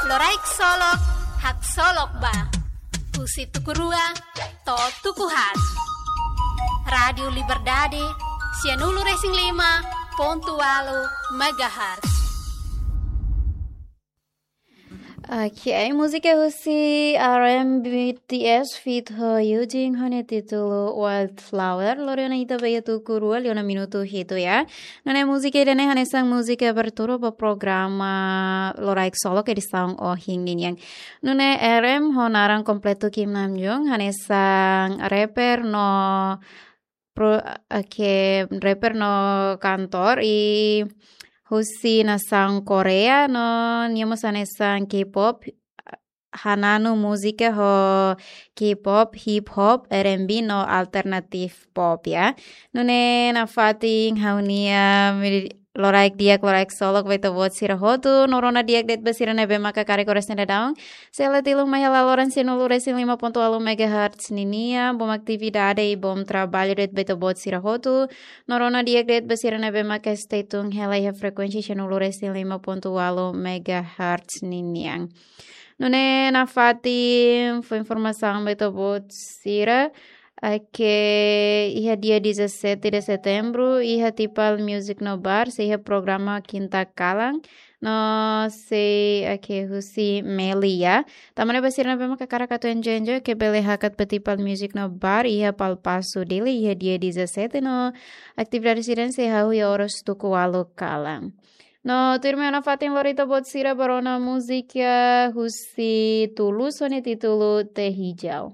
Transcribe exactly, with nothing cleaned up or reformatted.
Loraik Solok, haksolok ba. Husi tuku rua to'o tuku haat. Rádiu Liberdade, sianulu-resin-lima pontu ualu megahertz. Oke, múzika husi R M B T S feat ho Yujin ho nia títulu Wildflower. Lori ona ita ba iha tuku rua liu ona minutu hitu ya. Nune'e múzika ida-ne'e hanesan múzika abertura ba programa Loraik Solok edisaun ohin ninian. Nune'e R M ho naran kompletu Kim Namjoon hanesan rapper no pro, oke, rapper no kantór ida husi nasaun Koreia no nia mós hanesan K-pop, hananu múzika ho K-pop, hip hop, R and B no alternative pop ya. Nune'e nafatin ha'u-nia medi-, loraik di'ak, loraik solok ba ita-boot sira hotu, no rona di'ak de'it ba sira ne'ebé maka karik oras ne'e daudaun sei la tilun mai hela loron sianulu-resin-lima pontu ualu megahertz ninian. Bom atividade i bom traballu de'it ba ita-boot sira hotu, no rona di'ak de'it ba sira ne'ebé maka stay tune hela iha frekuénsia sianulu-resin-lima pontu ualu megahertz ninian. Nune'e nafatin fó informasaun ba ita-boot sira katak iha dia dezassete de setembro iha Tipal Music no Bar sei iha programa Kinta Kalan no sei, oke, husi Melia. Tanba ne'e ba sira ne'ebé maka hakarak atu enjoy-enjoy, oke, bele hakat ba Tipal Music no Bar iha Palpaso Dili iha dia dezassete no atividade sira-ne'e sei hahú iha oras tuku ualu kalan. No tuirmai nafatin lori ita-boot sira ba rona múzika husi Tulus ho nia títulu Teh Hijau.